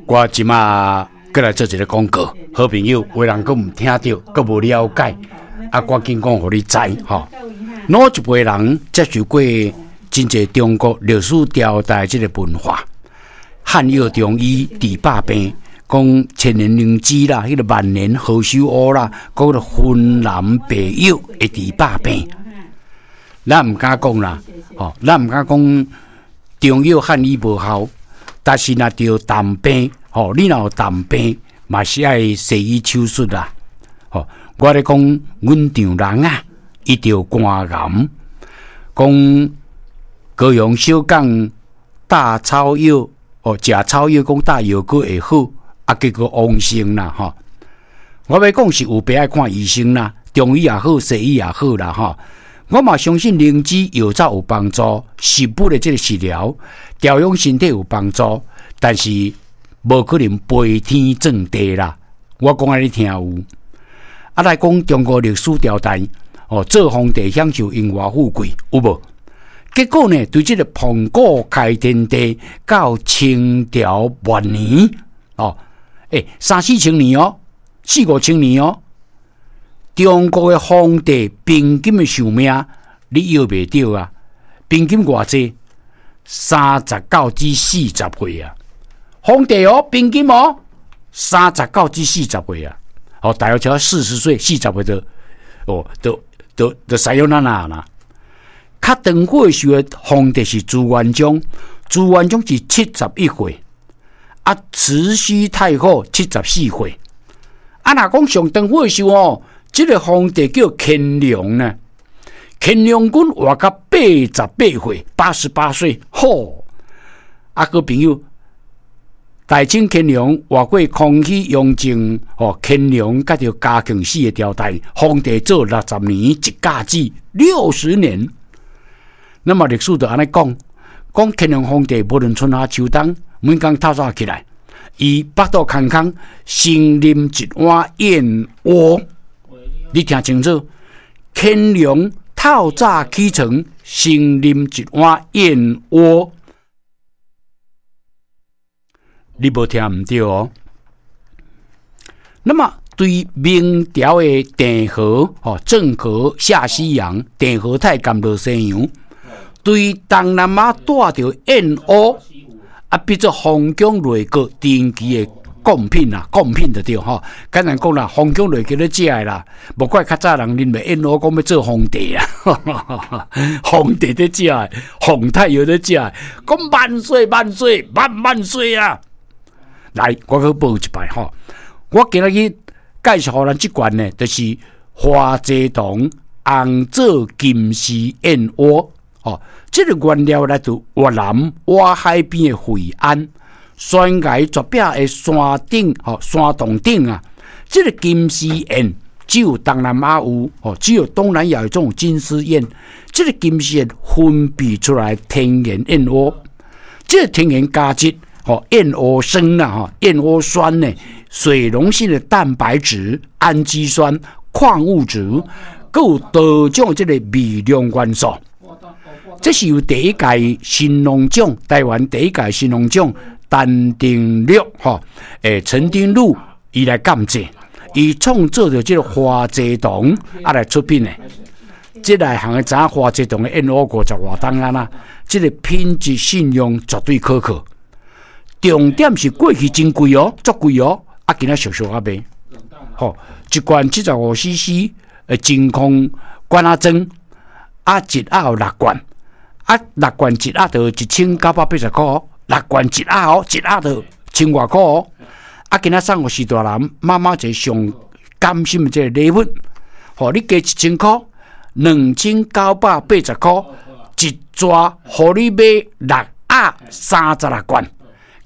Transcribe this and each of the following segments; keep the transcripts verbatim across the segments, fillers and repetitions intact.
我這馬閣來做一个廣告，好朋友，有人閣毋聽著，閣無了解，啊，趕緊講予你知吼。老一輩人接受過真濟中國歷史朝代這个文化，漢藥中醫治百病，講千年靈芝啦，彼个萬年何首烏啦，閣個雲南白藥會治百病。咱毋敢講啦，吼，咱毋敢講中藥漢醫無效，但是若著重病，吼，你若有重病，嘛是愛西醫手術啦。吼，我咧講，阮丈人啊，伊著肝癌，講高雄小港大草藥，哦，食草藥講打藥膏會好，啊，結果往生啦，吼。我欲講是有病愛看醫生啦，中醫也好，西醫也好啦，吼。我嘛相信靈芝藥草有幫助，食物的這个食療調養身體有幫助，但是無可能飛天撞地啦。我講予你聽有。啊，來講中國歷史朝代，哦，做皇帝享受榮華富貴，有無？結果呢，對這个盤古開天地到清朝末年，哦，欸，三四千年哦，四五千年哦。中國的皇帝平均的壽命，你搖袂著啊？平均偌濟？三十九至四十歲啊！皇帝哦，平均哦，三十九至四十歲啊！哦，大約超四十歲、四十歲就哦，就就就さよなら啦。較長歲壽的皇帝是朱元璋，朱元璋是七十一歲，啊，慈禧太后七十四歲。啊，若講上長歲壽哦，這个皇帝叫乾隆呢，乾隆君活到八十八歲，八十八歲，吼！啊，閣朋友，大清乾隆活過康熙、雍正，吼，乾隆佮著嘉慶四个朝代，皇帝做六十年一甲子，六十年。那麼歷史就按呢講，講乾隆皇帝無論春夏秋冬，每工透早起來，伊腹肚空空，先啉一碗燕窩。你聽清楚，乾隆透早起床，先啉一碗燕窩。你無聽毋著哦。那麼對明朝的鄭和，吼，鄭和下西洋，鄭和太監落西洋，對東南亞帶著燕窩，啊，變做皇宮內閣定期的貢品啊，貢品就對吼。簡單講啦，皇宮內閣咧食的啦，無怪較早人認為燕窩講欲做皇帝啊，皇帝咧食的，皇太后咧食的，講萬歲萬歲萬萬歲啊！來，我閣報一擺吼。我今仔日介紹予咱這罐呢，就是花濟堂紅棗金絲燕窩。吼，這个原料來自越南瓦海邊的惠安。懸崖絕壁的山頂，吼，山洞頂啊，這个金絲燕只有東南亞有，吼，只有東南亞有這種金絲燕。這个金絲燕分泌出來天然燕窩，這个天然膠質，吼，燕窩酸啦，吼，燕窩酸呢，水溶性的蛋白質、氨基酸、礦物質，閣有多種這个微量元素。這是由第一屆神農獎，台灣第一屆神農獎。陳丁祿吼，欸，陳丁祿伊來監製，伊創造著這个花濟堂啊來出品的。這內行的知影花濟堂的燕窩五十外冬啊啦，這个品質信用絕對可靠。重點是過去真貴哦，足貴哦，啊，今仔俗俗仔賣，吼，一罐七十五 C C 的真空罐仔裝，啊，一盒有六罐，啊，六罐一盒就一千九百八十箍。六罐一盒哦，一盒就千外箍哦。啊，今仔送予序大人媽媽一个上感心的這个禮物，吼，你加一千箍，兩千九百八十箍，一逝予你買六盒三十六罐。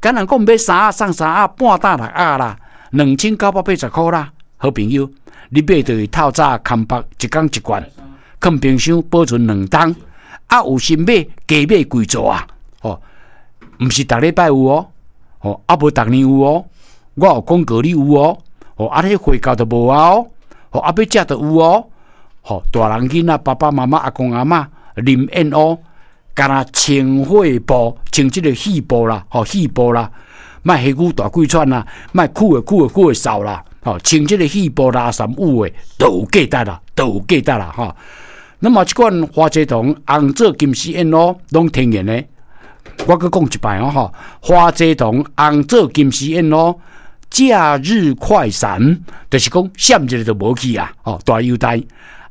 敢若講買三盒送三盒，半擔六盒啦，兩千九百八十箍啦。好朋友，你買就是透早空腹一工一罐，囥冰箱保存兩冬。啊，有心買加買幾束啊，吼。毋是逐禮拜有哦，吼，啊無逐年有哦，我有廣告你有哦，吼，啊彼貨到就無啊哦，吼，啊欲食就有哦，吼，大人囡仔爸爸媽媽阿公阿嬤啉燕窩，敢若清血布，清這个肺部啦，吼，肺部啦，莫下牛大氣喘啦，莫久的久的久的嗽啦，吼，穿這个肺部拉衫有的都有價值啦，都有價值啦，吼。那麼這款花蔗糖紅棗金絲燕露攏天然的，我閣講一擺哦，吼，花蔗糖紅棗金絲燕露假日快閃，就是講閃一下就無去啊，吼，大優待，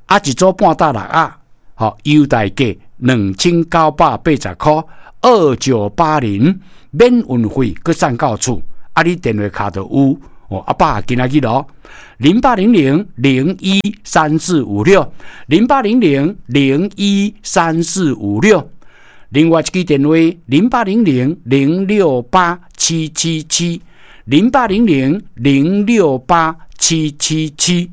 啊一組半打六盒，吼，優待價兩千九百八十箍，二九八零，免運費，閣送到厝，啊，你電話敲就有。哦，阿爸今仔日咯，零八零零零一三四五六，零八零零零一三四五六。另外一支電話零八零零零六八七七七，零八零零零六八七七七。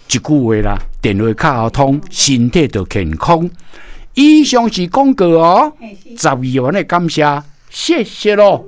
一句話啦，電話敲通，身體就健康。以上是廣告哦，十二萬的感謝，謝謝囉。